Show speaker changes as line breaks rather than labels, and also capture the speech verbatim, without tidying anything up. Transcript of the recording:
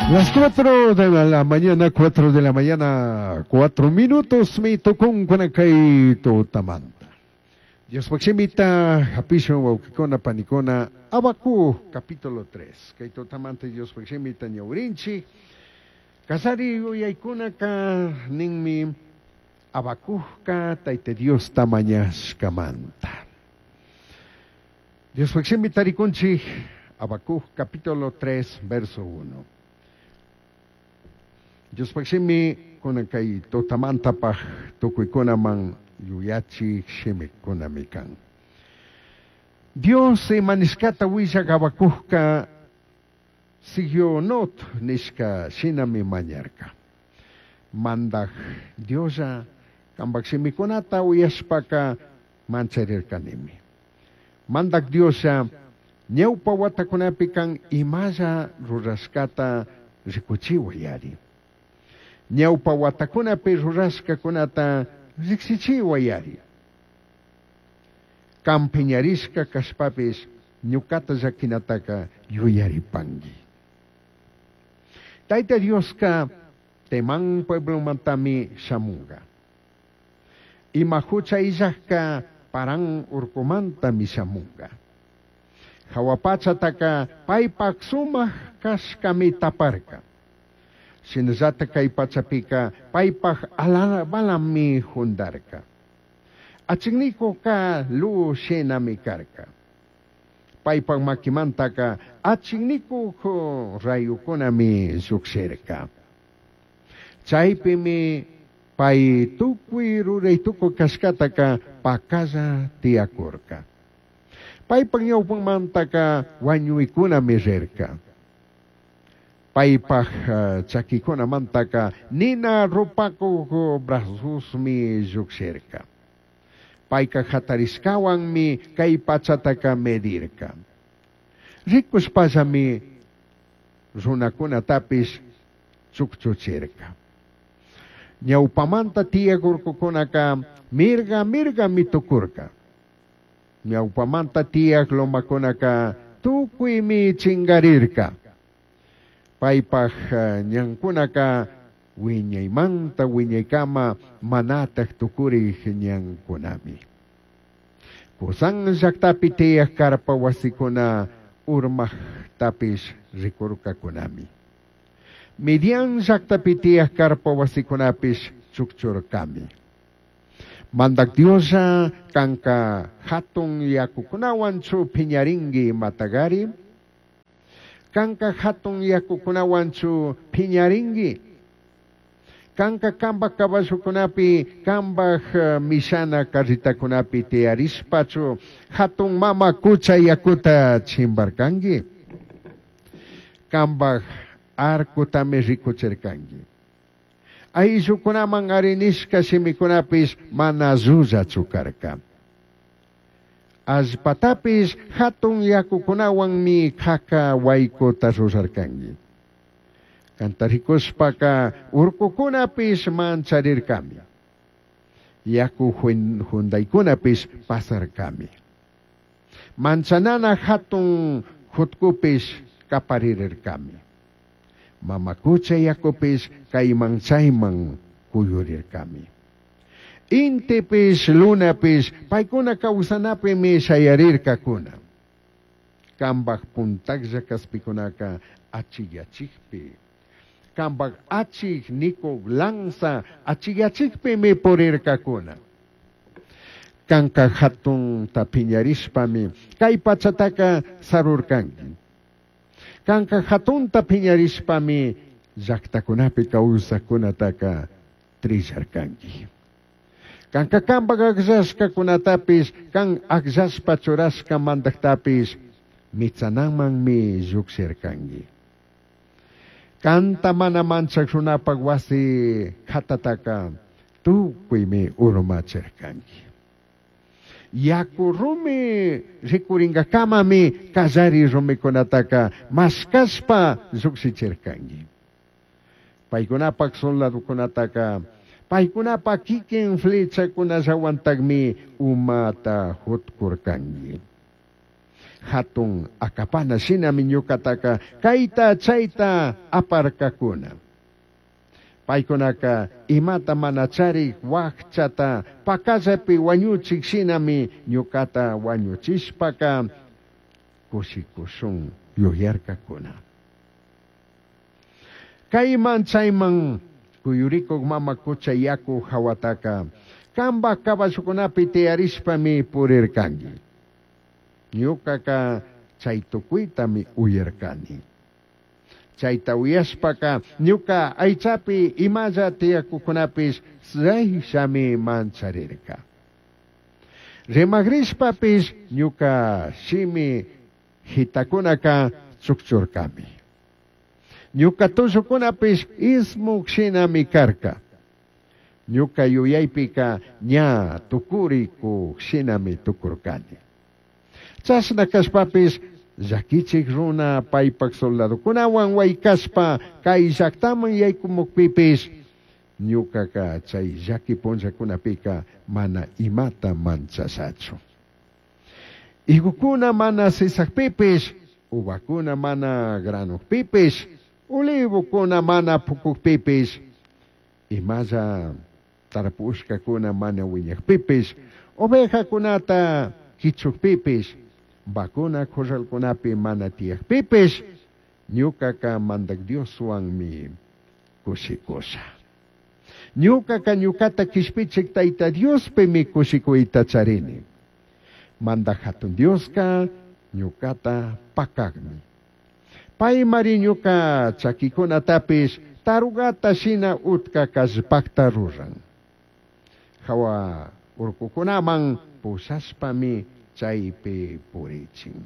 Las cuatro de la mañana, cuatro de la mañana, cuatro minutos, mi tucun kay tutamanta. Diospaj shimita, hapishun wawkikuna panikuna, Habacuc, capítulo tres. Kay tutamanta Diospaj shimita ñawirinchik. Kallari yuyaykunaka ninmi Habacucka Tayta Diosta mañashkamanta. Diospaj shimita rikunchik, Habacuc, capítulo tres, verso uno. Diospaj shimi kunan kay tutamantapaj tukuykunaman yuyachik shimikunami kan. Dios ima nishkata willak Habacucka Sigionot nishka shinami mañarka. Mandaj Dioslla kambaj shimikunata uyashpaka mancharirkanimi. Mandaj Dioslla ñawpa watakunapi kan imalla rurashkata rikuchiwayari. Ñawpa watakunapi rurashkakunata riksichiwayari. Kan piñarishka kashpapish ñukata llakinataka yuyaripanki. Tayta Dioska Temán pueblomantami shamunga. Ima hucha illajka Parán urkumantami shamunga. Jahua pachataka paypak sumak kashkami taparka. Shinallata kay pachapika paypak alabalami jundarka. Achiknikuka luz shinami karka. Paypak makimantaka achiknikuk rayukunami llukshirka. Chaypimi pay tukuy ruray tukuy kashkataka pakalla tiyakurka. Paypak ñawpanmantaka wañuykunami rirka. Paypak uh, chakikunamantaka nina rupakuk brazosmi llukshirka. Payka hatarishkawanmi kay pachataka medirka. Rikushpallami runakunatapish chukchuchirka. Ñawpamanta tiyak urkukunaka mirga mirgami tukurka. Ñawpamanta tiyak lomakunaka tukuymi chingarirka. Paypak uh, ñankunaka wiñaymanta wiñaykama manataj tukurik ñankunami. Kusan llaktapi tiyak karpa wasikuna urmajtapish rikurkakunami. Midian llaktapi tiyak karpa wasikunapish chukchurkami. Mandak Dioslla kanka hatun yakukunawanchu piñarinki matagari. Kanka hatun yakukunawanchu piñarinki. Kanka kambaj caballokunapi, kambaj uh, mishana carritakunapi tiyarishpachu hatun mama kucha yakuta chimbarkanki. Kambaj arcutami rikuchirkanki. Ayllukunaman arinishka shimikunapish mana llullachu karka. Allpatapish hatun yakukunawanmi qhaqa waykuta rurarkanki. Kanta rikushpaka urkukunapish mancharirkami. Yaku jundaykunapish pasarkami. Manchanana hatun jutkupish kaparirkami. Mama kucha yakupish kayman chayman kuyurirkami. Intipish lunapish paykuna kawsanapimi shayarirkakuna. Kambaj puntaklla kaspikunaka achiyachikpi. Kambaj achik nikuk lanza achiyachikpimi purirkakuna. Kanka hatunta piñarishpami kay pachataka sarurkanki. Kanka hatunta piñarishpami llaktakunapi kawsakkunataka trillarkanki. Kanka kambaj akllashkakunatapish kan akllashpa churashka mandaktapish mitsanamanmi llukshirkanki. Kanta mana manchak runapak wasi hatataka tukuymi urmachirkanki. Yaku rumi rikurinkakamami kallari rumikunataka mashkashpa llukshichirkanki. Paykunapak soldadokunataka paykunapak kikin flechakunallawantakmi umata jutkurkanki. Hatun akapana shinami ñucataca caita chaita aparcacuna. Paykunaka imata mana charik wakchata pakallapi wañuchik shinami ñucata wañuchishpaka kushikushun yuyarkakuna. Kayman chayman kuyurikuk mama kucha yaku hawataka kamba caballokunapi tiyarishpami purirkanki. Ñucaka chay tukuytami uyarkani. Chayta uyashpaka ñuka aychapi imalla tiyakukunapish shami mancharirka. Rimagrishpapish ñuka shimi hitakunaka chukchurkami. Ñuka tullukunapish ismuk shinami karka. Ñuka yuyaypika ña tukurikuk shinami tukurkani. Chashna kashpapish llakichik runa paypak soldadokunawan waykashpa kay llaktaman yaykumukpipish ñukaka chay llaki punllakunapika mana imata manchashachu. Higokuna mana sisakpipish, uvakuna mana granukpipish, olivokuna mana pukukpipish, imalla tarpushkakuna mana wiñakpipish, ovejakunata kichukpipish, vacuna corralkunapi mana tiyakpipish, ñukaka mandak Dioswanmi kushikusha. Ñukaka ñukata kishpichik Tayta Diospimi kushikuyta charini. Mandak hatun Dioska ñukata pakakmi. Paymari ñuka chakikunatapish tarugata shina utka kallpakta ruran. Hawa urkukunaman pushashpami chaypi purichin.